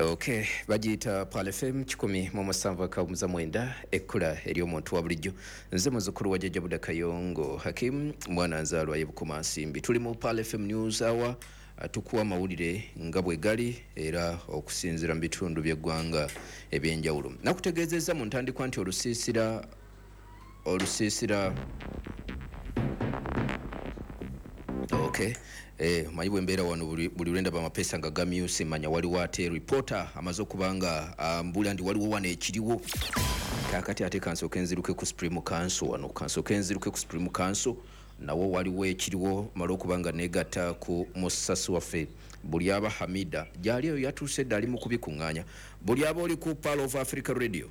Okay, bagiyita Pearl FM 107.9, ekkula ery'omuntu wa bulijjo. Nze muzzukulu wa Jjajja Buda Kayongo Hakim, mwana nzaalwa ye Bukomansimbi. Tuli mu Pearl FM News Hour, tukuwa amawulire nga bwe gali era okusinziira mu bitundu by'eggwanga ebyenjawulo. Nakutegeezezza mu ntandikwa nti olusiisira okay, manyi bwe mbeera wano buli lwendaba amapeesa nga gamyuse, manya waliwo ate reporter amaze okuba nga mbuulira nti waliwo wano ekiriwo. Kaakati ate kansooke nziruke ku Supreme Council wano, kansooke nziruke ku Supreme Council nawo waliwo ekiriwo, male okuba nga negatta ku musasi waffe Bulyaba Hamida gyali eyo, yatuuse dda ali mu kubikuŋŋaanya. Bulyaba, oli ku Pearl of Africa Radio.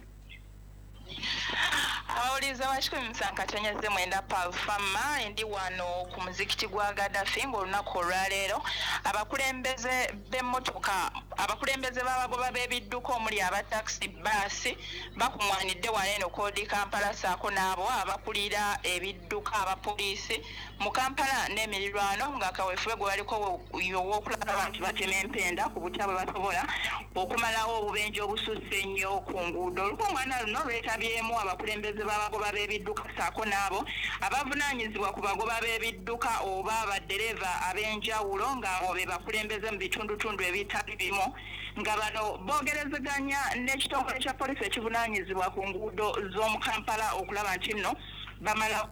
Abawuliriza ba 107.9 Pearl Fama, ndi wano ku muzikiti gwa Gaddafi ng'olunaku olwaleero abakulembeze b'emmotoka, abakulembeze b'abagoba b'ebidduka omuli aba takisi, baasi bakuŋŋaanidde wano eno Old Kampala, ssaako n'abo abakulira ebidduka abapoliisi mu Kampala n'emirirwano, nga kaweefube gwe baliko ow'okulaba nti batema empenda ku butya bwe basobola okumalawo obubenje obususse ennyo ku nguudo. Olukuŋŋaana luno lwetabyemu abakulembeze b'abagoba b'ebidduka ssaako n'abo abavunaanyizibwa ku bagoba b'ebidduka oba baddereeva ab'enjawulo, ng'abo be bakulembeze mu bitundutundu ebitali bimu, nga bano boogerezeganya n'ekitongole kya poliisi ekivunaanyizibwa ku nguudo z'omu Kampala okulaba nti nno bamala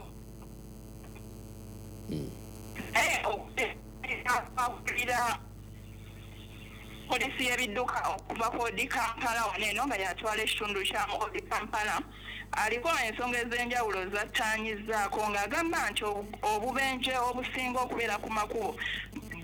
akulira poliisi y'ebidduka okuva ku Old Kampala wano eno, nga yatwala ekitundu kya Old Kampala, aliko ensonga ez'enjawulo zattaanyizzaako, ng'agamba nti obubenje obusinga okubeera ku makubo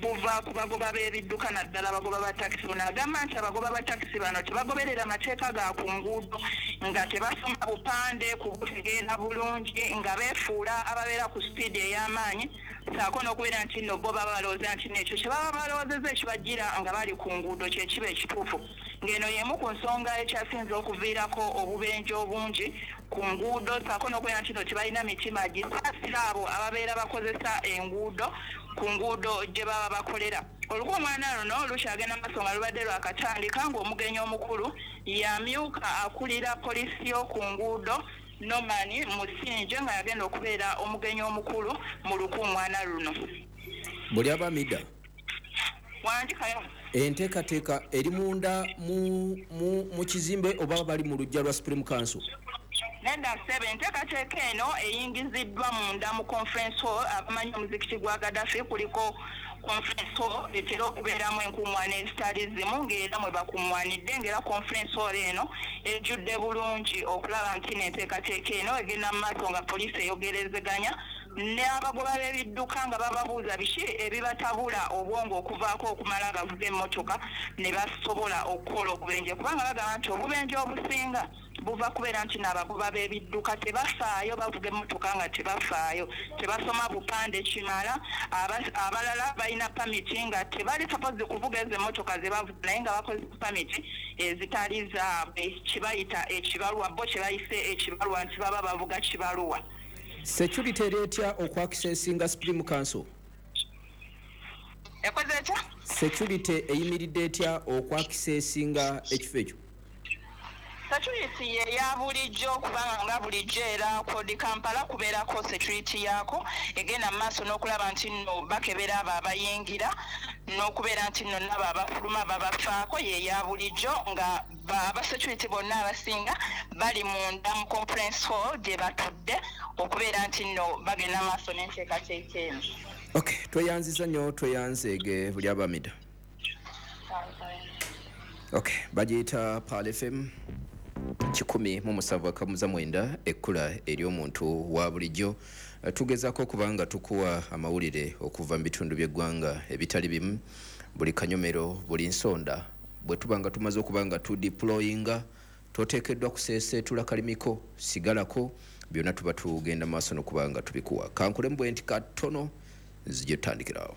buva ku bagoba b'ebidduka, naddala abagoba ba takisi. Ono agamba nti abagoba ba takisi bano tebagoberera mateeka ga ku nguudo, nga tebasoma bupande kubutegeera bulungi, nga beefuula ababeera ku sipiidi ey'amaanyi, ssaako n'okubeera nti nno bo baba balowooza nti nekyo kye baba balowoozezza ekibajjira nga bali ku nguudo kye kiba ekituufu, ng'eno y'emu ku nsonga ekyasinze okuviirako obubenje obungi ku nguudo, ssaako n'okubeera nti nno tebalina mitima gisaasira abo ababeera bakozesa enguudo ku nguudo gye baba bakolera. Olukuŋŋaana luno lukyagenda maaso nga lubadde lwakatandika, ng'omugenyi omukulu yamyuka akulira poliisi y'oku nguudo Norman Musinje, nga yagenda okubeera omugenyi omukulu mu lukuŋŋaana luno. Buli abamida Wandikayo. Enteekateeka eri munda mu kizimbe oba bali mu luggya lwa Supreme Council? Nenda ssebe, enteekateeka eno eyingiziddwa munda mu conference hall. Abamanyi omuzikiti gwa Gaddafi, kuliko conference hall etera okubeeramu enkuŋŋaana ezitali zimu, ng'era mwe bakuŋŋaanidde, ng'era conference hall eno ejjudde bulungi okulaba nti n'enteekateeka eno egenda mu maaso, nga poliisi eyogerezeganya n'abagoba b'ebidduka nga bababuuza biki ebibatabula obwongo okuvaako okumala gavuga emmotoka ne basobola okukola obubenje, kubanga bagamba nti obubenje obusinga buva kubeera nti n'abagoba b'ebidduka tebafaayo, bavuga emmotoka nga tebafaayo, tebasoma bupande kimala. Abalala balina pamiti nga tebali supposed kuvuga ezo emmotoka ze bavuga, naye nga bakozesa pamiti ezitali zaabwe, kibayita ekibaluwa, bo kye bayise ekibaluwa nti baba bavuga kibaluwa. Security eri etya okwakisesinga Supreme Council? Ekoze etya? Security eyimiridde etya okwakisesinga ekifo ekyo? Security ye ya bulijjo, kubanga nga bulijjo era ku Old Kampala kubeerako security yaako egenda mu maaso n'okulaba nti nno bakebera abo abayingira n'okubeera nti nno nabo abafuluma babafaako. Ye ya bulijjo, nga aba security bonna abasinga bali munda mu conference hall gye batudde okubeera nti nno bagenda maaso n'enteekateeka eno. Okay, tweyanziza nnyo, tweyanzeege buli abamida. Okay, bagiyita Pearl FM 107.9, ekkula ery'omuntu wa bulijjo. Tugezaako okuba nga tukuwa amawulire okuva mu bitundu by'eggwanga ebitali bimu, buli kanyomero, buli nsonda. Bwe tuba nga tumaze okuba nga tudeployinga, toteekeddwa kuseeseetula kalimiko, sigalako, byonna tuba tugenda maaso n'okuba nga tubikuwa. Kankulemu bwe nti katono nzije tutandikirawo.